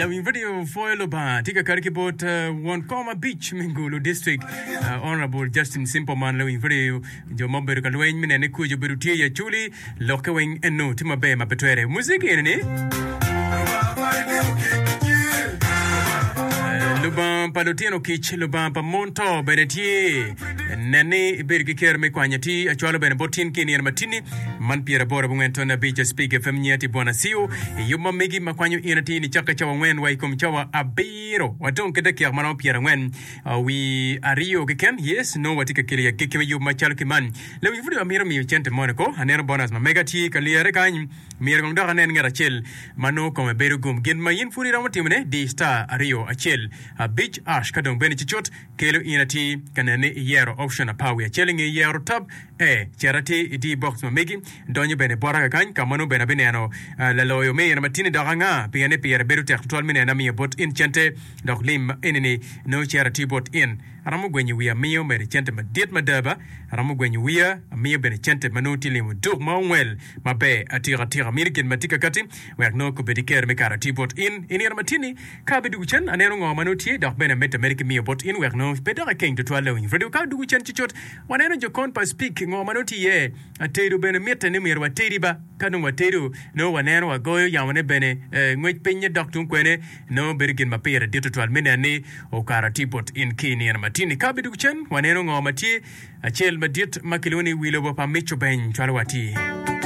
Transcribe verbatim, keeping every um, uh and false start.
Lawiny radio pwoyo Lubanga tye ka kati ki bot uh, won kom abic me Gulu District uh, Honorable Justin Simpleman lawiny radio jo ma obedo ka lweny me nene kuc obedo tye i Acholi lokke weng eno tye maber ma pe twere muziki eni ni Lubanga pa lutino kic, Lubanga pa mon to bene tye. Nen ni ibedo ki kero me kwanyo atir acwalo bene bot tin ki i nino matini man pyeraboro abongwen tone abic Spik FM nyiya tye Bwana Siu i yub ma megi ma kwanyo in atir nicakke cawa angwen wa i kom cawa abiro wadong ki dakika ma romo pyerangwen wi aryo keken yes nongo watye ka kelo i agikki me yub macalo ki man lawiny pud amito miyo cente moni ko aneno bonus ma mega tye ka lyere kany myero kong dok anen ngat acel ma nongo kome bedo gum gin ma in pud iromo timone di star aryo acel abic ash ka dong bene cucut kelo in atir ka nene ni iyero option apar wiye acel inge yero tab e cit atir idi box ma megi donyo bene bota kakany ka ma nongo bene abineno laloyo me ino matini dok anga pien ni pire bedo tek tutwal me neno amiyo bot in cente dok lim enini nongo cito atir bot in aromo gwenyo wiya amiyo mere cente madit mada ba aromo gwenyo wiya amiyo bene cente ma nongo tye limo duk ma ongwel maber atika atika mini gin ma tye kakati wek nongo kobed ki kero me kato atir bot in i nino matini ka abidugu cen aneno ngo ma nongo tye dok bene amedde ameda ki miyo bot in wek nongo pe dok ekeng tutwal lawiny radio ka odugu cen cucut waneno jokon pa speak ngo ma nongo tye iye atedo bene mitte ni myero watedi ba ka dong watedo nongo waneno wagoyo yamone bene ngwec pinye dok tung kwene nongo bedo gin ma pire dit tutwal me neno ni okato atir bot in ki i nino matini ka abidugu cen waneno ngo ma tye acel madit ma kilwongo ni wi lobo pa Mico Beny cwalo wa atir.